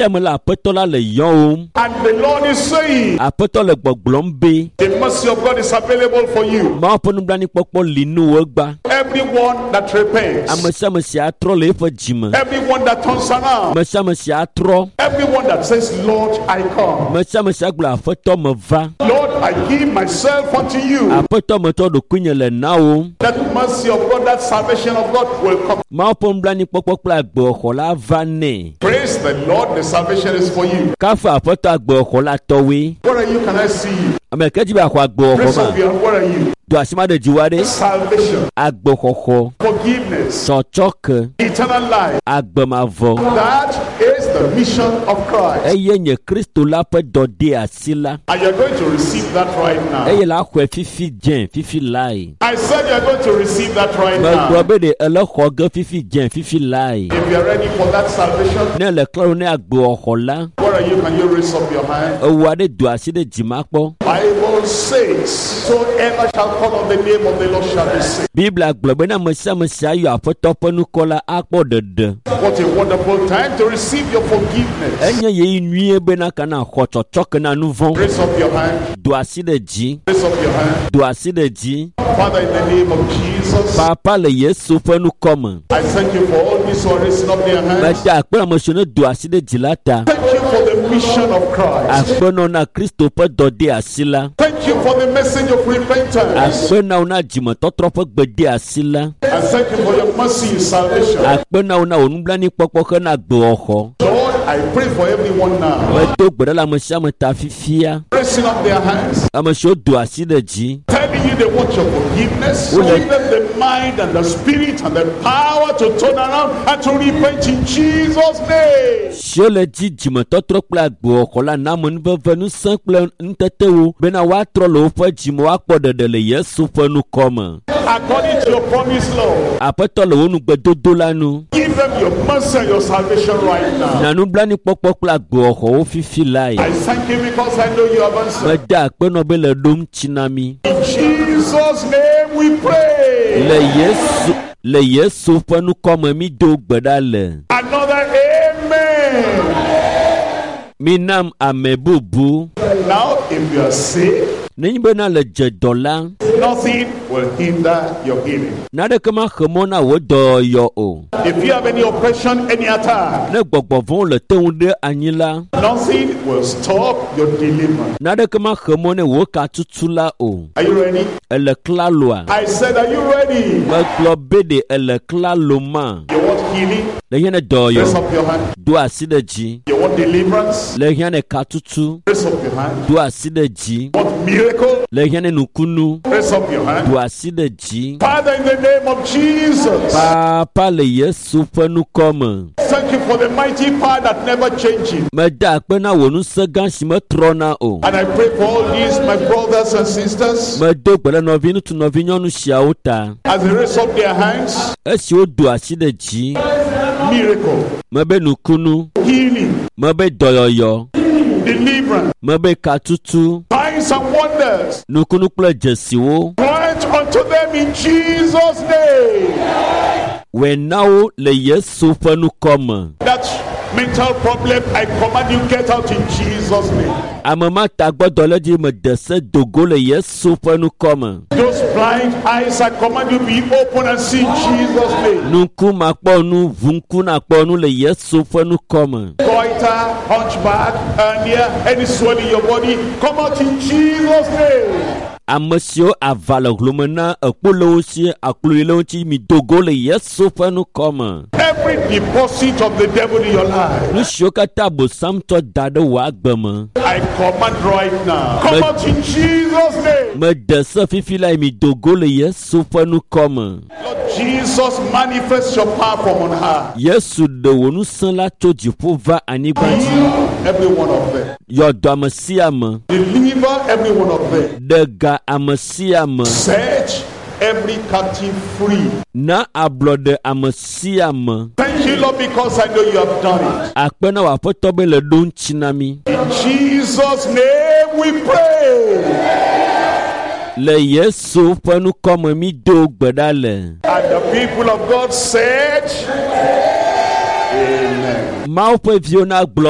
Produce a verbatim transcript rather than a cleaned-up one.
Fifia me la aƒetɔ la le yɔwòm. And the Lord is saying, Aƒetɔ le gbɔgblɔm be the mercy of God is available for you. Mawu ƒe nublanuikpɔkpɔ li nu wò egba. Everyone that repents, Ame sia ame si atrɔ le eƒe dzime. everyone that turns around, Ame sia ame si atrɔ. everyone that says, Lord, I come. Ame sia ame si agblɔ aƒetɔ meva. Lord, I give myself unto you. Aƒetɔ metsɔ ɖokuinye le na wò. That mercy of God, that salvation of God will come. Mawu ƒe nublanuikpɔkpɔ kple agbexɔ la va nɛ. Praise the Lord, the salvation is for you. Kafu aƒetɔ agbexɔ la tɔwoe. Where are you? Can I see you? Ame ke dzi be axɔ agbexɔ Raise ma. up your hand. Where are you? Do asi ma ɖe dziwò aɖe. Salvation, Agbexɔxɔ. forgiveness, Tsɔtsɔke. eternal life. Agbemavɔ. That is the mission of Christ. Eye nye Kristo la ƒe dɔdeasi la. And you're going to receive that right now. Eye la xɔe fifi dze fifi lae. I said you're going to receive that right Megblɔ now. be ɖe ele xɔ ge fifi dze fifi lae. If you're ready for that salvation, Ne le klalo ne agbexɔ la, where are you? Can you raise up your hand? ewu aɖe do asi ɖe dzima kpɔ. Bible says, Soever shall call on the name of the Lord shall be saved. Biblia gblɔ be ne ame sia ame sia yɔ aƒetɔ ƒe ŋkɔ la akpɔ ɖeɖe. What a wonderful time to receive your forgiveness. Enye ɣeyiɣi nyuie bena kana xɔ tsɔtsɔke na nu vɔ̃. Raise up your hand. Do asi ɖe dzi. Raise up your hand. Do asi ɖe dzi. Father, in the name of Jesus, Papa le Yesu ƒe ŋkɔ me. I thank you for all these who are raising up their hands. Meda akpe ame siwo ne do asi ɖe dzi la ta. Thank you for the mission of Christ. Akpe nɔ na Kristo ƒe dɔdeasi la. Thank you for the message of repentance. Akpe na wo na dzimetɔtrɔ ƒe gbedeasi la. And thank you for your mercy in salvation. Akpe na wo na wò nublanuikpɔkpɔ hena agbexɔxɔ. Lord, I pray for everyone now. Medo gbe ɖa le ame sia ame ta fifia. Raising up their hands, Ame siwo do asi ɖe dzi. telling you they want your forgiveness. Who Give them the mind and the spirit and the power to turn around and to repent in Jesus' name. Siwo le dzi dzimetɔtrɔ kple agbexɔxɔ la na amenuveve ŋusẽ kple ŋutetewo bena woatrɔ le woƒe dzime woakpɔ ɖeɖe le Yesu ƒe ŋkɔ me. According to your promise, Lord, Aƒetɔ le wò nugbedodo la nu. give them your mercy and your salvation right now. Na nublanuikpɔkpɔ kple agbexɔxɔwo fifi lae. I thank you because I know you have answered. Meda akpe nɔ be le ɖom tsi na mi. In Jesus' name we pray. Le Yesu le Yesu ƒe ŋkɔ me mi do gbe ɖa le. Another amen. Minam ame bubu. Now, if you are sick, Nenye bena le dze dɔ la, nothing will hinder your healing. naneke maxe mɔ na wò dɔyɔyɔ o. If you have any oppression, any attack, Ne gbɔgbɔ vɔ̃wo le te ŋu ɖe anyi la, nothing will stop your deliverance. naneke maxe mɔ ne wò katutu la o. Are you ready? Ele klaloa? I said, Are you ready? Megblɔ be ɖe ele klalo ma. You want healing? Le hiã ne Raise dɔyɔyɔ, up your hand. do asi ɖe dzi. You want deliverance? Le hiã ne katutu, Raise up your hand. do asi ɖe dzi. Want miracle? Le hiã ne nukunu, Raise up your hand. do asi ɖe dzi. Father, in the name of Jesus, Papa le Yesu ƒe ŋkɔ me. thank you for the mighty power that never changes. Meda akpe na wò ŋusẽ gã si metrɔna o. And I pray for all these, my brothers and sisters, Medo gbe ɖe nɔviŋutsu nɔvinyɔnu siawo ta. as they raise up their hands, Esi wodo asi ɖe dzi, miracle, mebe nukunu, healing, mebe dɔyɔyɔ, deliverance, mebe katutu, signs and wonders. nukunu kple dzesiwo. Grant unto them in Jesus' name. Wòe na wo le Yesu ƒe ŋkɔ me. That mental problem, I command you get out in Jesus' name. Ame ma tagbɔdɔlédzi mede se dogo le Yesu ƒe ŋkɔ me. Those blind eyes, I command you be open and see in Jesus' name. Nuku makpɔ nu, ʋu ŋku nakpɔ nu le Yesu ƒe ŋkɔ me. Goiter, hunchback, hernia, any swelling in your body, come out in Jesus' name. Ame siwo ava le hlome na ekpo le wo si, aklo le wo ŋuti, mi dogo le Yesu ƒe ŋkɔ me. Every deposit of the devil in your life, Nu siwo katã Abosam tsɔ da ɖe wò agbe me. I command right now. Come out in Jesus' name. Mede se fifi la mi dogo le Yesu ƒe ŋkɔ me. Lord Jesus, manifest your power from on high. Yesu ɖe wò ŋusẽ la tso dziƒo va anyigba dzi. Heal every one of them. Yɔ dɔ ame sia ame. Deliver every one of them. Ɖe ga ame sia ame. Set every captive free. Na ablɔɖe ame sia ame. Thank you, Lord, because I know you have done it. Akpe na wò aƒetɔ be le ɖo ŋuti na mi. In Jesus' name we pray. Le Yesu ƒe ŋkɔ me mi do gbe ɖa le. And the people of God said, Amen. Mawu ƒe viwo na gblɔ